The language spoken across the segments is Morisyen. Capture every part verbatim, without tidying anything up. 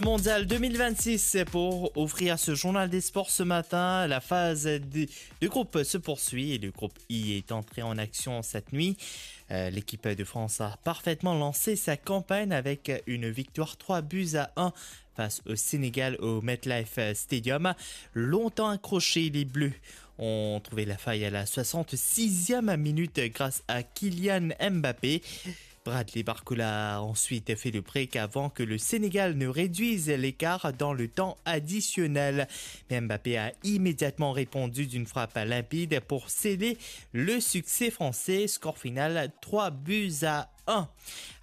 Mondial deux mille vingt-six pour ouvrir ce journal des sports ce matin. La phase de, de groupe se poursuit et le groupe I est entré en action cette nuit. Euh, l'équipe de France a parfaitement lancé sa campagne avec une victoire trois buts à un face au Sénégal au MetLife Stadium. Longtemps accrochés, les Bleus ont trouvé la faille à la soixante-sixième minute grâce à Kylian Mbappé. Bradley Barcola a ensuite fait le break avant que le Sénégal ne réduise l'écart dans le temps additionnel. Mais Mbappé a immédiatement répondu d'une frappe limpide pour sceller le succès français. Score final trois buts à un.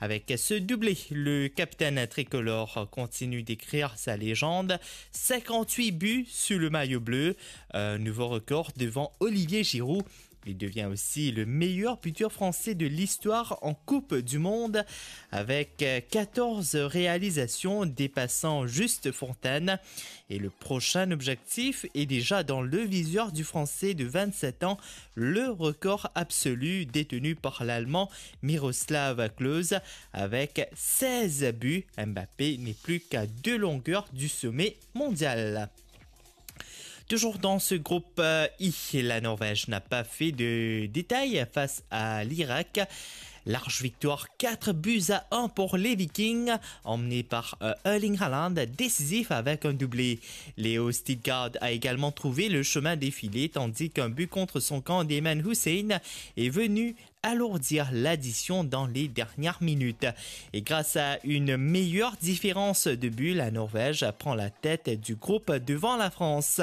Avec ce doublé, le capitaine tricolore continue d'écrire sa légende. Cinquante-huit buts sous le maillot bleu, un nouveau record devant Olivier Giroud. Il devient aussi le meilleur buteur français de l'histoire en Coupe du Monde, avec euh, quatorze réalisations dépassant Juste Fontaine. Et le prochain objectif est déjà dans le viseur du Français de vingt-sept ans, le record absolu détenu par l'Allemand Miroslav Klose avec seize buts. Mbappé n'est plus qu'à deux longueurs du sommet mondial. Toujours dans ce groupe euh, I, la Norvège n'a pas fait de détails face à l'Irak. Large victoire, quatre buts à un pour les Vikings, emmenés par euh, Erling Haaland, décisif avec un doublé. Léo Stijgard a également trouvé le chemin défilé, tandis qu'un but contre son camp d'Ayman Hussein est venu alourdir l'addition dans les dernières minutes. Et grâce à une meilleure différence de buts, la Norvège prend la tête du groupe devant la France.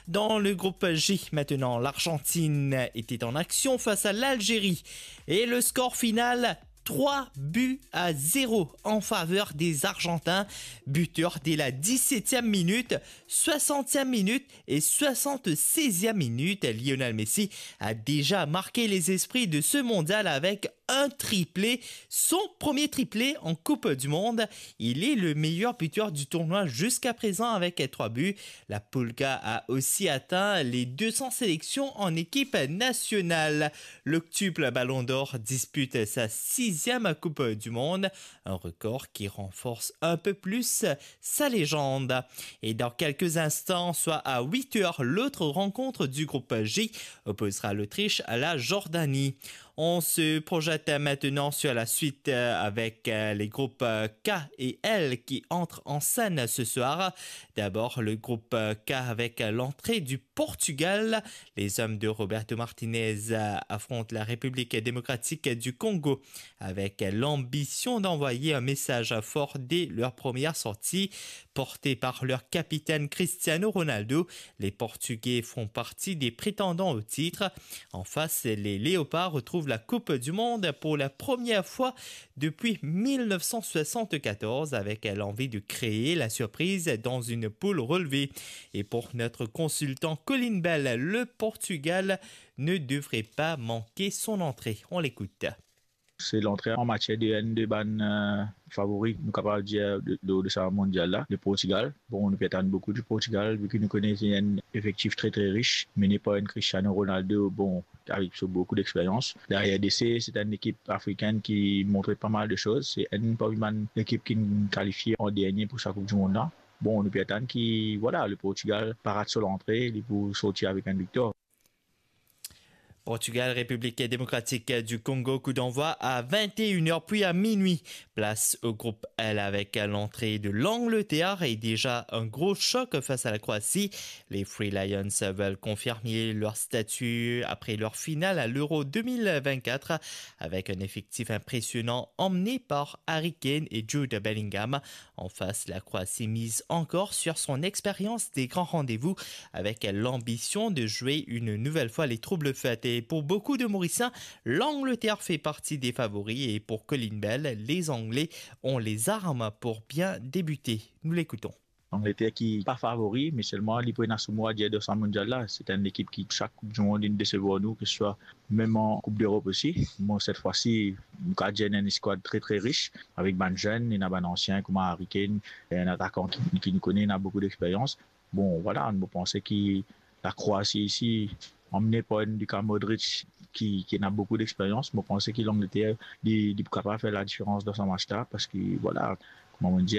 Dans le groupe J, maintenant, l'Argentine était en action face à l'Algérie. Et le score final, trois buts à zéro en faveur des Argentins, buteur dès la dix-septième minute, soixantième minute et soixante-seizième minute. Lionel Messi a déjà marqué les esprits de ce mondial avec un triplé, son premier triplé en Coupe du Monde. Il est le meilleur buteur du tournoi jusqu'à présent avec trois buts. La Pulga a aussi atteint les deux cents sélections en équipe nationale. L'octuple Ballon d'Or dispute sa sixième Coupe du Monde, un record qui renforce un peu plus sa légende. Et dans quelques instants, soit à huit heures, l'autre rencontre du groupe J opposera l'Autriche à la Jordanie. On se projette maintenant sur la suite euh, avec euh, les groupes euh, K et L qui entrent en scène ce soir. D'abord, le groupe euh, K avec l'entrée du Portugal. Les hommes de Roberto Martinez euh, affrontent la République démocratique du Congo avec l'ambition d'envoyer un message fort dès leur première sortie. Portés par leur capitaine Cristiano Ronaldo, les Portugais font partie des prétendants au titre. En face, les Léopards retrouvent la Coupe du Monde pour la première fois depuis mille neuf cent soixante-quatorze avec l'envie de créer la surprise dans une poule relevée. Et pour notre consultant Colin Bell, le Portugal ne devrait pas manquer son entrée. On l'écoute. Se lantre an matier de enn de bann euh, favori, nou kapav dir, de, de, de sa mondial la, le Portugal. Bon, nou pe atann boukou di Portugal, vi ki nou kone se enn efektif tre, tre rich, mene par enn Cristiano Ronaldo, bon, avek so boukou dexperyans. Deryer de se, se enn ekip afrikenn ki montre pa mal de soz. Se enn parmi bann ekip ki kalifie an dernie pou sa Koup di Mond la. Bon, nou pe atann ki, vwala, le Portugal pa rat so lantre, li pou sorti avek enn viktor. Portugal, République démocratique du Congo, coup d'envoi à vingt et une heures puis à minuit. Place au groupe L avec l'entrée de l'Angleterre et déjà un gros choc face à la Croatie. Les Three Lions veulent confirmer leur statut après leur finale à l'Euro deux mille vingt-quatre avec un effectif impressionnant emmené par Harry Kane et Jude Bellingham. En face, la Croatie mise encore sur son expérience des grands rendez-vous avec l'ambition de jouer une nouvelle fois les troubles faits. Et pour beaucoup de Mauriciens, l'Angleterre fait partie des favoris et pour Colin Bell, les Anglais ont les armes pour bien débuter. Nous l'écoutons. Angleter ki pa favori, me selman li pou ena so mo a dir dan sa mondial la. Se enn ekip ki, sak Koup di Mond, inn desevwar nou, ke se swa mem an Koup d'Erop osi. Bon, set fwa si, nou kapav dir ena enn eskwad tre, tre rich, avek bann zenn, ena bann ansien, kouma Harry Kane, enn atakan ki, ki nou kone, ena boukou dexperyans. Bon, vwala, mo panse ki la Kroasi isi, anmennen par enn Luka Modric ki, ki ena boukou dexperyans, mo panse ki Langleter, li, li pou kapav fer ladiferans dan sa match la, parski, vwala, kouma mo dir,